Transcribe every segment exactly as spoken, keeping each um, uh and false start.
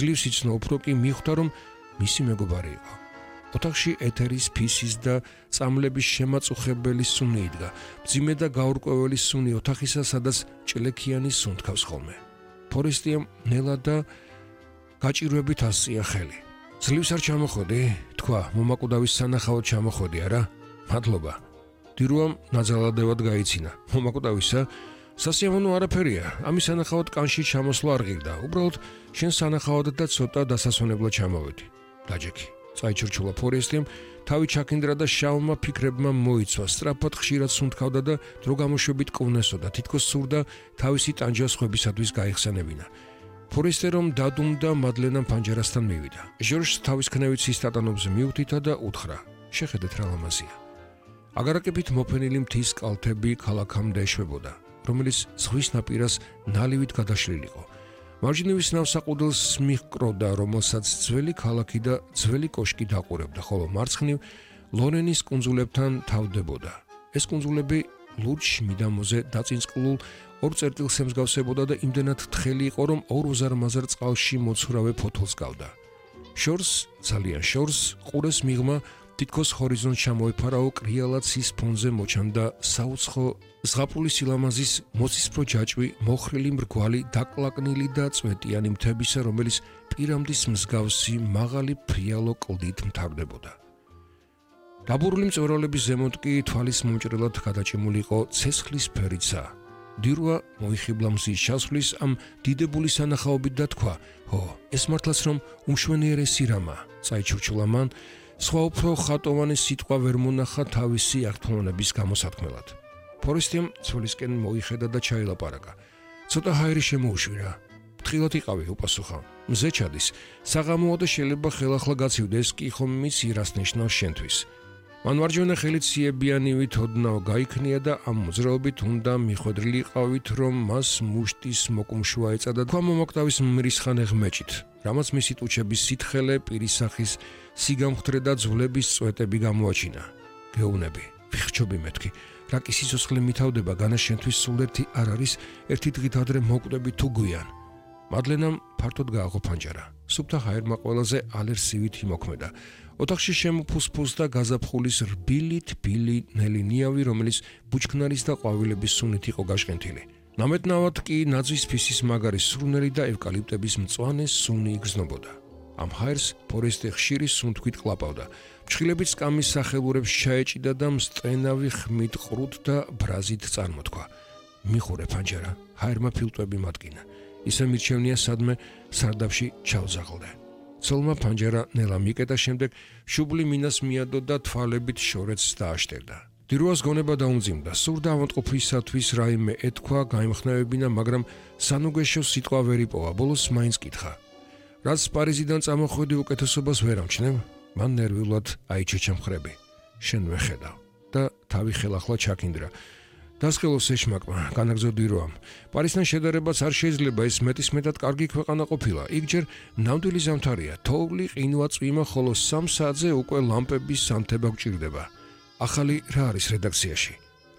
ძლივს იცნო უფრო კი მიხვდა რომ მისი მეგობარი იყო. ოთახში ეთერის ფისის და წამლების შემაწუხებელი სუნი იდგა. მძიმე და გაურკვეველი სუნი ოთახისა, სადაც ჭლექიანი სუნთქავს ხოლმე. ფორესტიამ ნელა და გაჭირვებით ასწია ხელი. ძლივს არ ჩამოხოდი? თქვა, მომაკვდავის სანახავად ჩამოხოდი არა? მადლობა. დირუამ ნაძალადევად გაიცინა. მომაკვდავისა? სასიამოვნო არაფერია. ამის სანახავად კანში ჩამოსვლა არ ღირდა. უბრალოდ შენ სანახავად და ცოტა დასასვენებლად ჩამოვედი. დაჯექი. წაიჩურჩულა ფორესტიამ, თავი ჩაქინდრა და შავმა ფიქრებმა მოიცვა. სწრაფად ხშირად სუნთქავდა და დრო გამოშვებით კვნესოდა. თითქოს სურდა თავისი ტანჯას ხვებისათვის გაიხსენებინა. ფორესტე რომ დადუმდა, მადლენამ პანჯერასთან მივიდა. ჟორჟს თავის ქნევით სისტატანობს მიუთითა და უთხრა: შეხედეთ რა ლამაზია. აგარაკებით მოფენილი მთის კალთები ქალაქამდე ეშვებოდა, რომელიც ზღვის ნაპირას ნალივით გადაშლილიყო. მარჯნივის ნავსაყუდელს მიჰკროდა, რომელსაც ძველი ქალაქი და ძველი კოშკი დაყურებდა, ხოლო მარცხნივ ლორენის კუნძულებთან თავდებოდა. ეს კუნძულები ლურჯ მიდამოზე დაწინწყლულ ორ წერტილს ემსგავსებოდა და იმდენად თხელი იყო, რომ ორ უზარმაზარ წყალში მოცურავე ფოთოლს გავდა. შორს, ძალიან შორს, ყურეს მიღმა თითქოს ჰორიზონტს ჩამოეფარაო კრიალად ცის ფონზე მოჩანდა საუცხო ზღაპრული სილამაზის მოცისფრო ჯაჭვი, მოხრილი მრგვალი, დაკლაკნილი და წვეტიანი მთებისა, რომელიც პირამდის მსგავსი მაღალი ფრიალო კლდით მთავრდებოდა. დაბურული მწვერვალების ზემოთ კი თვალის მომჭრელად გადაჭიმული იყო ცეცხლის ფერიცა. დირუა მოიხიბლა მზის ჩასვლის ამ დიდებული სანახაობით და თქვა: "ჰო, ეს მართლაც რომ უმშვენიერესი რამა." წაიჩურჩულა მან, სხვა უფრო ხატოვანი სიტყვა ვერ მონახა თავისი აღთქმოვნების გამოსათქმელად. ფორესტიამ ცოლისკენ მოიხედა და ჩაილაპარაკა. "ცოტა ჰაერი შემოუშვირა. ფრთხილად იყავი," უპასუხა. "მზე ჩადის. საღამოა და შეიძლება ხელახლა გაცივდეს, კი ხომ მის ირას ნიშნავს შენთვის." მან მარჯვენა ხელით სიებიანივით ოდნავ გაიქნია და ამ მოძრაობით უნდა მიხვედრილი ყავით, რომ მას მუშტის მოკუმშვა ეწადა თქვა მომაკვდავის მრისხანე ღმეჭით, რამაც მისი ტუჩების სითხელე, პირისახის სიგამხდრე და ძვლების წვეტები გამოაჩინა. "გეუნები, ვიხჩობი მეთქი, რა კი სიცოცხლე მითავდება, განა შენთვის სულ ერთი არ არის, ერთი დღით ადრე მოკვდები თუ გვიან." მადლენამ ფართოდ გააღო პანჯარა. სუფთა ჰაერმა ყველაზე ალერსივით იმოქმედა. ოთახში შემოფუსფუსდა გაზაფხულის რბილი თბილი ნელი ნიავი, რომელიც ბუჩქნარის და ყვავილების სუნით იყო გაშკენთილი. ნამეტნავად კი ნაძვის ფისის მაგარი სურნელი და ევკალიპტების მწვანე სუნი იგრძნობოდა. ამ ჰაერს ფორესტე ხშირი სუნთქვით ყლაპავდა. ფრჩხილებით სკამის სახელურებს ჩაეჭიდა და მსწენავი ხმით ყრუთ და ბრაზით წარმოთქვა. "მიხურე პანჯარა," ჰაერმა ფილტვები მადგინა. ისე მირჩევნია სადმე სარდაფში ჩავზაღლდე. ცოლმა პანჯარა ნელა მიკეტა, შემდეგ შუბლი მინას მიადო და თვალებით შორეთს დააშტერდა. დირუას გონება დაუმძიმდა. სურდა ავადმყოფისათვის რაიმე ეთქვა, გაიმხნევებინა, მაგრამ სანუგეშო სიტყვა ვერ იპოვა. ბოლოს მაინც კითხა: "რაც პარიზიდან წამოხვედი, უკეთესობას ვერ ამჩნევ?" მან ნერვიულად აიჩეჩა მხრები. "შენ ვეხედავ." და თავი ხელახლა ჩაქინდრა. დასხელოს ეშმაკმა, განაგრძო დირუამ. "პარიზთან შედარებაც არ შეიძლება, ეს მეტისმეტად კარგი ქვეყანა ყოფილა. იქ ჯერ ნამდვილი ზამთარია, თოვლი, ყინვა, წვიმა, ხოლო სამ საათზე უკვე ლამპების სანთება გჭირდება. ახალი რა არის რედაქციაში?"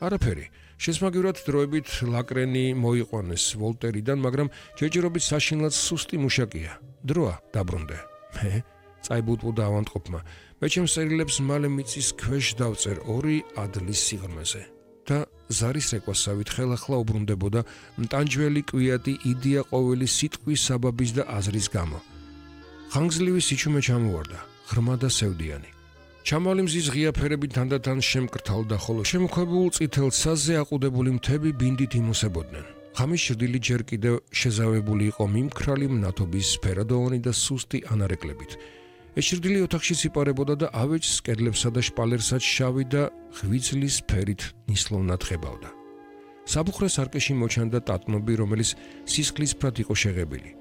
"არაფერი. შესმაგივრად დროებით ლაკრენი მოიყვანეს ვოლტერიდან, მაგრამ ჯერჯერობით საშინლად სუსტი მუშაკია. დროა დაბრუნდე." "მე?" წაიბუტბუდა ავადმყოფმა. "მე ჩემს წერილებს მალე მიწის ქვეშ დავწერ ორი ადლის სიღრმეზე." და ზარის რეკვასავით ხელახლა უბრუნდებოდა მტანჯველი კვიატი იდეა ყოველი სიტყვის საბაბის და აზრის გამო. ხანგრძლივი სიჩუმე ჩამოვარდა, ღრმა და სევდიანი. ჩამალი მზის ღია ფერები თანდათან შემკრთალდა, ხოლო შემოქვებულ წითელ ცაზე აყუდებული მთები ბინდით იმოსებოდნენ. ღამის ჭრილი ჯერ კიდევ შეზავებული იყო მიმქრალი მნათობის ფერადოვანი და სუსტი ანარეკლებით. ეს ჭრილი ოთახში სიპარებოდა და ავეჯს, კედლებსა და შპალერსაც შავი და ღვიძლის ფერით ნისლოვნად ხებავდა. საბუხრე სარკეში მოჩანდა ტატნობი, რომელიც სისხლისფრად იყო შეღებილი.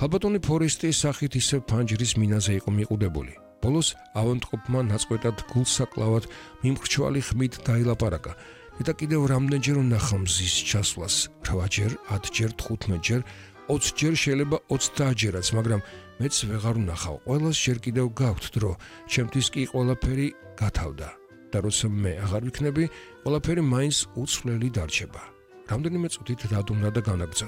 ქალბატონი ფორესტის სახით ისე ფანჯრის მინაზე იყო მიყუდებული. ბოლოს ავადმყოფმა ნაწყვეტად გულსაკლავად მიმხრჩვალი ხმით დაილაპარაკა. და კიდევ რამდენჯერ ვნახა მზის ჩასვლას, რვაჯერ, ათჯერ, თხუთმეტჯერ, ოცჯერ, შეიძლება ოცდაათჯერაც, მაგრამ მეც ვეღარ ვნახავ. ყველას ჯერ კიდევ გაქვთ დრო, ჩემთვის კი ყველაფერი გათავდა. და როცა მე აღარ ვიქნები, ყველაფერი მაინც უცვლელი დარჩება. რამდენიმე წუთით დადუმდა და განაგრძო.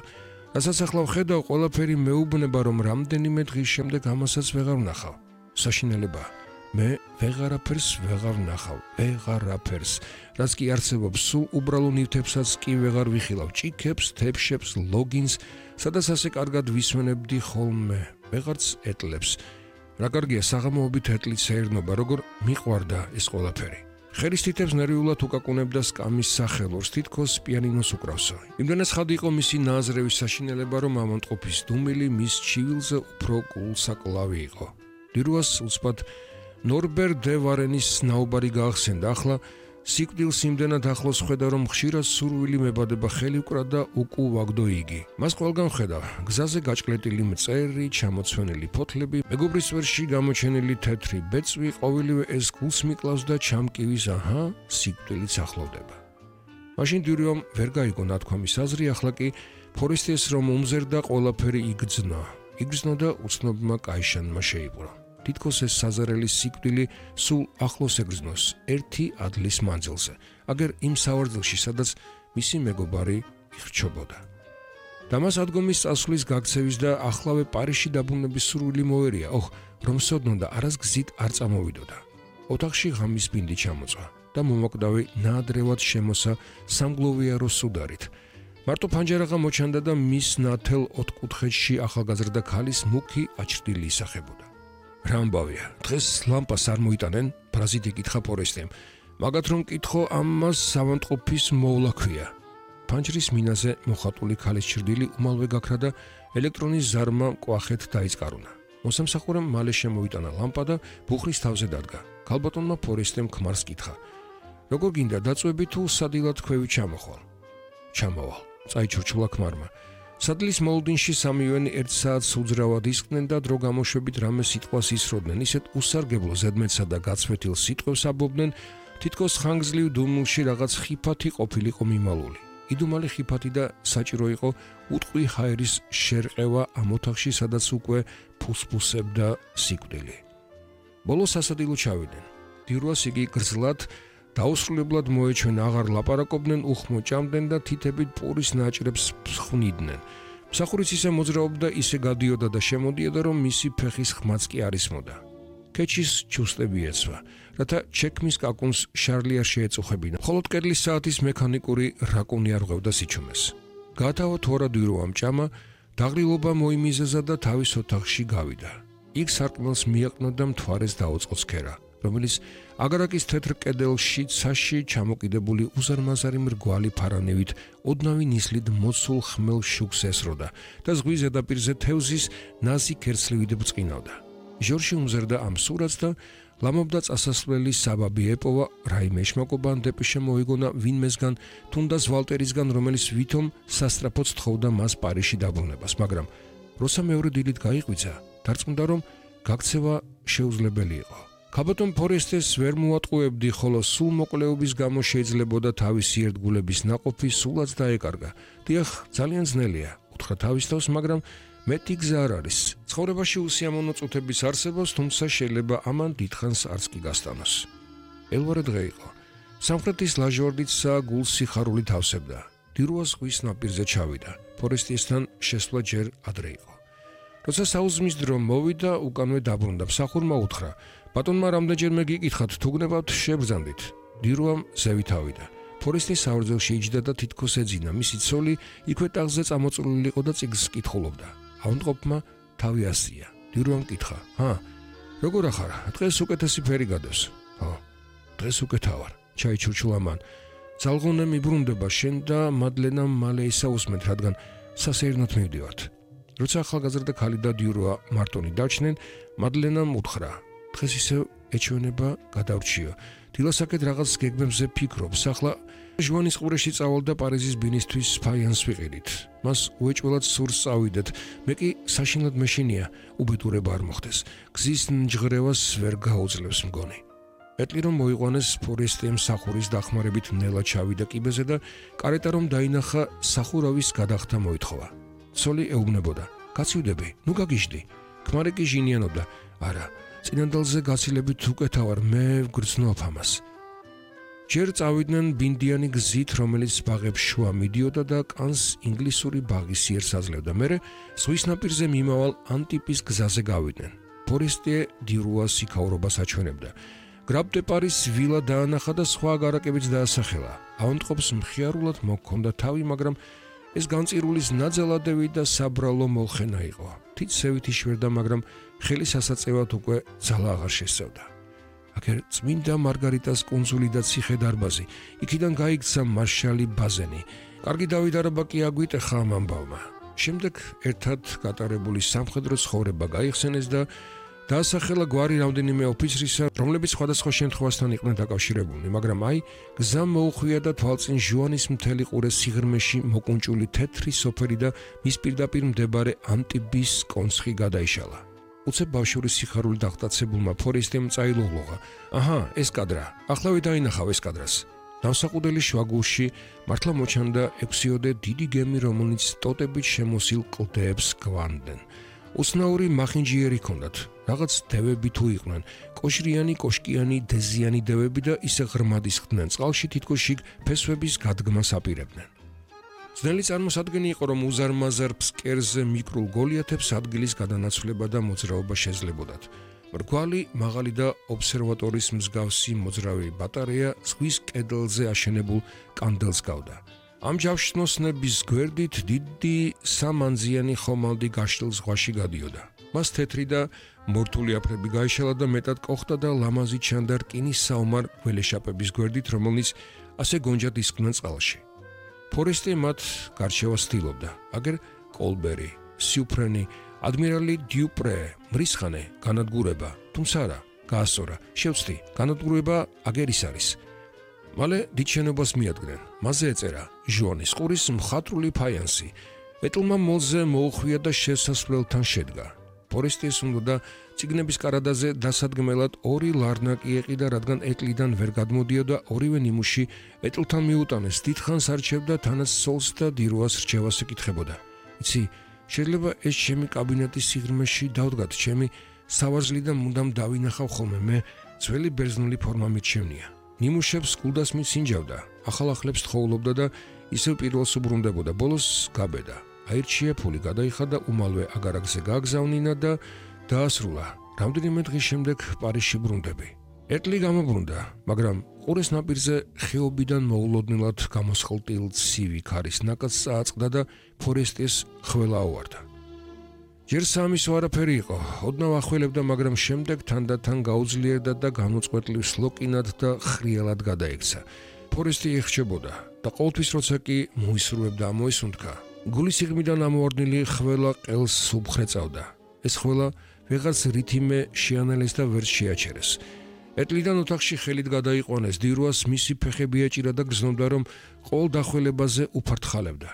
რასაც ახლა ვხედავ, ყველაფერი მეუბნება, რომ რამდენიმე დღის შემდეგ ამასაც ვეღარ ვნახავ. საშინელებაა. მე ვეღარაფერს ვეღარ ვნახავ, ვეღარაფერს. რაც კი არსებობს, სულ უბრალო ნივთებსაც კი ვეღარ ვიხილავ, ჭიქებს, თეფშებს, ლოგინს, სადაც ასე კარგად ვისვენებდი ხოლმე, ვეღარც ეტლებს. რა კარგია საღამოობით ეტლით საერთნობა, როგორ მიყვარდა ეს ყველაფერი. ხერის თითებს ნერვიულად უკაკუნებდა სკამის სახელოს, თითქოს პიანინოს უკრავსო. იმდენად ხადი იყო მისი ნააზრევის საშინელება, რომ ამონტყოფის დუმილი მის ჩივილზე უფრო გულსაკლავი იყო. დირუას უცბად ნორბერ დე ვარენის ნაუბარი გაახსენდა. ახლა სიკვდილს იმდენად ახლოს ხედა, რომ ხშირად სურვილი მებადება ხელი უკრა და უკუვაგდო იგი. მას ყველგან ხედა, გზაზე გაჭკლეტილი მწერი, ჩამოცვენილი ფოთლები, მეგობრის წვერში გამოჩენილი თეთრი ბეწვი, ყოველივე ეს გულს მიკლავს და ჩამკივის, აჰა, სიკვდილიც ახლოვდება. მაშინ დიურიომ ვერ გაიგო ნათქვამის აზრი, ახლა კი ფორესტეს რომ უმზერდა, ყველაფერი იგრძნო. იგრძნო და უცნობმა კაიშანმა შეიპყრო. თითქოს ეს საზარელი სიკვდილი სულ ახლოს ეგრძნოს ერთი ადლის მანძილზე, აგერ იმ სავარძელში, სადაც მისი მეგობარი ირჩობოდა. და მას ადგომის წასვლის გაქცევის და ახლავე პარიზში დაბრუნების სურვილი მოერია, ოხ, რომ სოდნო და არას გზით არ წამოვიდოდა. ოთახში ღამის ბინდი ჩამოწვა და მომაკვდავი ნაადრევად შემოსა სამგლოვიარო სუდარით. მარტო ფანჯარაღა მოჩანდა და მის ნათელ ოთხკუთხედში ახალგაზრდა ქალის მუქი აჩრდილი ისახებოდა. რა ამბავია, დღეს ლამპას არ მოიტანენ? ბრაზით იკითხა ფორესტემ. მაგათ რომ კითხო, ამას სამონტყოფის მოვლა ქვია. ფანჯრის მინაზე მოხატული ქალის ჩრდილი უმალვე გაქრა და ელექტრონის ზარმა კვახეთ დაიწყარულა. მოსამსახურემ მალე შემოიტანა ლამპა და ბუხრის თავზე დადგა. ქალბატონმა ფორესტემ ქმარს კითხა. როგორ გინდა დაწვევი თუ სადილად ქვევით ჩამოხვალ? ჩამოვალ, წაიჩურჩულა ქმარმა. სადლის მოლოდინში სამივენი ერთ საათს უძრავად ისხდნენ და დრო გამოშვებით რამე სიტყვას ისროდნენ, ისეთ უსარგებლო ზედმეტსა და გაცვეთილ სიტყვებს აბობდნენ, თითქოს ხანგრძლივ დუმილში რაღაც ხიფათი ყოფილიყო მიმალული. იდუმალი ხიფათი და საჭირო იყო უტყვი ჰაერის შერყევა ამ ოთახში, სადაც უკვე ფუსფუსებდა სიკვდილი. ბოლოს სასადილო ჩავიდნენ. დირუას იგი გრძლად დაუსრულებლად მოეჩვენა, აღარ ლაპარაკობდნენ, უხმო ჭამდნენ და თითებით პურის ნაჭრებს ფხვნიდნენ. მსახურიც ისე მოძრაობდა, ისე გადიოდა და შემოდიოდა, რომ მისი ფეხის ხმაც კი არ ისმოდა. ქეჩის ჩუსტები ეცვა, რათა ჩექმის კაკუნს შარლი არ შეეწუხებინა. მხოლოდ კედლის საათის მექანიკური რაკუნი არ ღვევდა სიჩუმეს. გაათავა თუ არა დირუამ ჭამა, დაღლილობა მოიმიზეზა და თავის ოთახში გავიდა. იქ სარკმელს მიაყნა და მთვარეს დაუწყო ცქერა, რომელიც აგარაკის თეთრ კედელში ცაში ჩამოკიდებული უზარმაზარი მრგვალი ფარანივით ოდნავი ნისლით მოცულ ხმელ შუქს ესროდა და ზღვის ზედაპირზე თევზის ნაზი ქერცლივით ბრწყინავდა. ჟორჟი უმზერდა ამ სურათს და ლამობდა წასასვლელი საბაბი ეპოვა, რაიმე ეშმაკობა ან დეპეშე მოიგონა ვინმესგან, თუნდაც ვალტერისგან, რომელიც ვითომ სასტრაფოდ თხოვდა მას პარიზში დაბრუნებას, მაგრამ როცა მეორე დილით გაიყვიცა, დარწმუნდა, რომ გაქცევა შეუძლებელი იყო. ქალბატონ ფორესტეს ვერ მოატყუებდი, ხოლო სულ მოკლეობის გამო შეიძლებოდა თავისი ერთგულების ნაყოფი სულაც დაეკარგა. დიახ, ძალიან ძნელია, უთხრა თავის თავს, მაგრამ მეტი გზა არ არის. ცხოვრებაში უსიამოვნო წუთების არსებობს, თუმცა შეიძლება ამან დიდხანს არც კი გასტანოს. ელვარე დღე იყო. სამხრეთის ლაჟვარდიცა გულსიხარული თავსებდა. დირუა ზღვის ნაპირზე ჩავიდა. ფორესტესთან შესვლა ჯერ ადრე იყო. როცა საუზმის დრო მოვიდა, უკანვე დაბრუნდა. მსახურმა უთხრა: ბატონმა რამდენჯერმე გიკითხათ, თუ გნებავთ შებრძანდით. დირუამ ზევით ავიდა. ფორესტის საურძელში იჯდა და თითქოს ეძინა. მისი ცოლი იქვე ტახტზე წამოწოლილი იყო და წიგნს კითხულობდა. ავადმყოფმა თავი ასწია. დირუამ კითხა: ჰა, როგორ ახარ? დღეს უკეთესი ფერი გადევს. ხო, დღეს უკეთა ვარ. ჩაიჩურჩულა მან. ძალღონე მიბრუნდება შენ და მადლენამ მალე ისაუსმეთ, რადგან სასეირნოდ მივდივართ. როცა ახალგაზრდა ქალი და დიურუა მარტონი დარჩნენ, მადლენამ უთხრა: დღეს ისევ ეჩვენება გადავრჩიო. დილასაკეთ რაღაც გეგმებზე ფიქრობს. ახლა ჟუანის ყურეში წავალ და პარიზის ბინისთვის ფაიანს ვიყიდით. მას უეჭველად სურს წავიდეთ. მე კი საშინლად მეშინია, უბედურება არ მოხდეს. გზის ნჯღრევას ვერ გაუძლებს მგონი. ეტლი რომ მოიყვანეს, ფორესტემ მსახურის დახმარებით ნელა ჩავიდა კიბეზე და კარეტა რომ დაინახა, სახურავის გადახდა მოითხოვა. ცოლი ეუბნებოდა: გაცივდები, ნუ გაგიჟდი. ქმარი კი ჟინიანობდა: არა, წინანდალზე გაცილებით უკეთა ვარ, მე ვგრძნობ ამას. ჯერ წავიდნენ ბინდიანი გზით, რომელიც ბაღებს შუა მიდიოდა და კანს ინგლისური ბაღის იერ საძლევდა. მერე ზღვის ნაპირზე მიმავალ ანტიპის გზაზე გავიდნენ. ფორესტიე დირუას იქაურობას აჩვენებდა. გრაბ დე პარის ვილა დაანახა და სხვა გარაკებიც დაასახელა. ავადმყოფს მხიარულად მოჰქონდა თავი, მაგრამ ეს განწირულის ნაძალადევი და საბრალო molხენა იყო. თითსევით იშვერდა, მაგრამ ხელი სასაწევად უკვე ძალა აღარ შესწევდა. აქ წმინდა მარგარიტას კუნძული და ციხე დარბაზი. იქიდან გაიქცა მარშალი ბაზენი. კარგი დავითარება კი აგვიტეხა ამ ამბავმა. შემდეგ ერთად გატარებული სამხედრო ცხოვრება გაიხსენეს და დაასახელა გვარი რამდენიმე ოფიცრისა, რომლებიც სხვადასხვა შემთხვევასთან იყვნენ დაკავშირებულნი, მაგრამ აი გზა მოუხვია და თვალწინ ჟუანის მთელი ყურე სიღრმეში მოკუნჭული თეთრი სოფელი და მის პირდაპირ მდებარე ანტიბის კონცხი გადაიშალა. უცებ ბავშვური სიხარული დაღტაცებულმა ფორესტიემ წაილოღლოღა. აჰა, ეს კადრა. ახლავე დაინახავ ეს კადრას. ნავსაყუდელი შუაგულში მართლა მოჩანდა ექვსიოდე დიდი გემი, რომელიც ტოტებით შემოსილ კლდეებს გვანდნენ. უცნაური მახინჯიერი ჰქონდათ. რაღაც დევები თუ იყვნენ, კოშრიანი, კოშკიანი, დეზიანი დევები და ისე ღრმად ისხდნენ წყალში, თითქოს შიგ ფესვების გადგმას აპირებდნენ. ძნელი წარმოსადგენი იყო, რომ უზარმაზარ ფსკერზე მიკრულ გოლიათებს ადგილის გადანაცვლება და მოძრაობა შეძლებოდათ. მრგვალი, მაღალი და ობსერვატორის მსგავსი მოძრავი ბატარეა ზღვის კედელზე აშენებულ კანდელს გავდა. ამ ჯავშნოსნების გვერდით დიდი სამანძიანი ხომალდი გაშლილ ზღვაში გადიოდა. მას თეთრი და მორთული აფრები გაიშალა და მეტად კოხტა და ლამაზი ჩანდა რკინის საომარ გველეშაპების გვერდით, რომელნიც ასე გონჯად ისხდნენ წყალში. ფორესტიე მათ გარჩევას ცდილობდა. აგერ კოლბერი, სიუფრენი, ადმირალი დიუპრე, მრისხანე, განადგურება, თუმცა არა, გაასწორა, შევცდი, განადგურება აგერ ის არის. მალე დიდ შენობას მიადგნენ. მასზე ეწერა ჟუანის ყურის მხატვრული ფაიანსი. ეტლმა მოლზე მოუხვია და შესასვლელთან შედგა. ფორესტიეს უნდა ციგნების კარადაზე დასადგმელად ორი ლარნაკი ეყიდა, რადგან ეტლიდან ვერ გადმოდიოდა ორივე ნიმუში ეტლთან მიუტანეს. დიდხანს არჩევდა თანაც სოლს და დირუას რჩევას ეკითხებოდა. იცი, შეიძლება ეს ჩემი კაბინეტის სიღრმეში დავდგათ, ჩემი სავარძლიდან მუდამ დავინახავ ხოლმე, მე ძველი ბერძნული ფორმა მიჩვენია. ნიმუშებს გულდას მიცინჯავდა, ახალ-ახლებს თხოვლობდა და ისევ პირველს უბრუნდებოდა. ბოლოს გაბედა. აირჩია, ფული გადაიხადა, უმალვე აგარაკზე გააგზავნინა და დაასრულა. რამდენიმე დღის შემდეგ პარიზში ბრუნდები. ეტლი გამობრუნდა, მაგრამ ყურეს ნაპირზე ხეობიდან მოულოდნელად გამოსხლტილ ცივი ქარის ნაკადს წააწყდა და ფორესტიეს ხველა აუვარდა. ჯერ სამისო არაფერი იყო, ოდნავ ახველებდა, მაგრამ შემდეგ თანდათან გაუძლიერდა და განუწყვეტლივ სლოკინად და ხრიალად გადაექცა. ფორესტიე ეხჩებოდა და ყოველთვის როცა კი მოისურვებდა ამოისუნთქა, გულის სიღრმიდან ამოვარდნილი ხველა ყელს უბხრეწავდა. ეს ხველა ვეღარც რითიმე შეანელეს და ვერ შეაჩერეს. ეტლიდან ოთახში ხელით გადაიყვანეს, დირუას მისი ფეხები ეჭირა და გრძნობდა, რომ ყოველ დახველებაზე უფართხალებდა.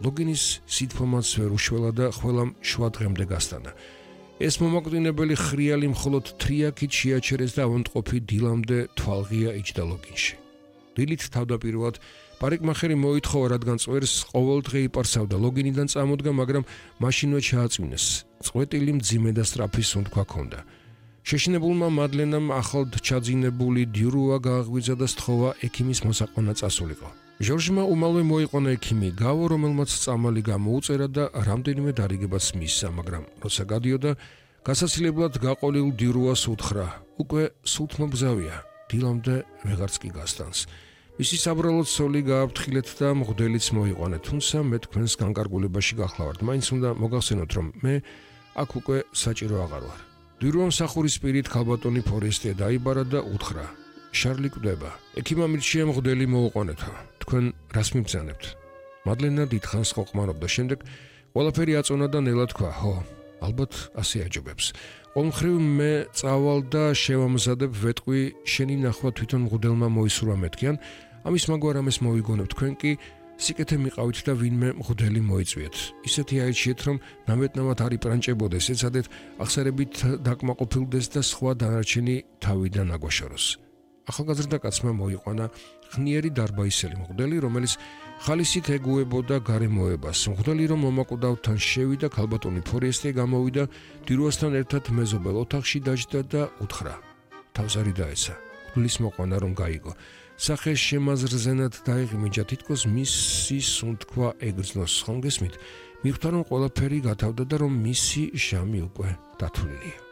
ლოგინის სითფომაც ვერ უშველა და ხველამ შუა დღემდე გასტანა. ეს მომაკვდინებელი ხრიალი მხოლოდ თრიაქით შეაჩერეს და ავადმყოფი დილამდე თვალღია იჯდა ლოგინში. დილით თავდაპირველად პარიკმახერი მოითხოვა, რადგან წვერს ყოველ დღე იპარსავდა. ლოგინიდან წამოდგა, მაგრამ მაშინვე ჩააწვინეს. წყვეტილი მძიმე და სწრაფი სუნთქვა ჰქონდა. შეშინებულმა მადლენამ ახლად ჩაძინებული დირუა გააღვიძა და სთხოვა ექიმის მოსაყვანა წასულიყო. ჟორჟმა უმალვე მოიყვანა ექიმი გავო, რომელმაც წამალი გამოუწერა და რამდენიმე დარიგებაც მისცა, მაგრამ როცა გადიოდა, გასაცილებლად გაყოლილ დირუას უთხრა, უკვე სულთმობგზავია, დილამდე ვეღარც კი გასტანს. მისი საბრალოდ სოლი გააფრთხილეთ და მღვდელიც მოიყვანეთ, თუმცა მე თქვენს განკარგულებაში გახლავართ. მაინც უნდა მოგახსენოთ, რომ მე აქ უკვე საჭირო აღარ ვარ. დირუამ სახურის პირით ქალბატონი ფორესტიე დაიბარა და უთხრა, შარლი კვდება. ექიმმა მირჩია მღვდელი მოუყვანეთო. თქვენ რას მიბრძანებთ? მადლენა დიდხანს ყოყმარობდა, შემდეგ ყველაფერი აწონა და ნელა თქვა, ხო, ალბათ ასე აჯობებს. ყოველმხრივ მე წავალ და შევამზადებ, ვეტყვი, შენი ნახვა თვითონ მღვდელმა მოისურვა მეთქი, ან ამის მაგვარ ამას მოვიგონებ, თქვენ კი სიკეთე მიყავით და ვინმე მღვდელი მოიწვიეთ. ისეთი აიჩიეთ, რომ ნამეტნავად არ იპრანჭებოდეს, ეცადეთ აღსარებით დაკმაყოფილდეს და სხვა დანარჩენი თავიდან აგვაშოროს. ახალგაზრდა კაცმა მოიყვანა ხნიერი დარბაისელი მღვდელი, რომელიც ხალისით ეგუებოდა გარემოებას. მღვდელი რომ მომაკვდავთან შევიდა, ქალბატონი ფორესტიე გამოვიდა, დირუასთან ერთად მეზობელ ოთახში დაჯდა და უთხრა. თავზარი დაეცა. მღვდლის მოყვანა რომ გაიგო. სახე შემაზრზენად დაიღმიჯა, თითქოს მისი სუნთქვა ეგრძნოს. ხომ გესმით? მიხვდა რომ ყველაფერი გათავდა და რომ მისი ჟამი უკვე დათვლილია.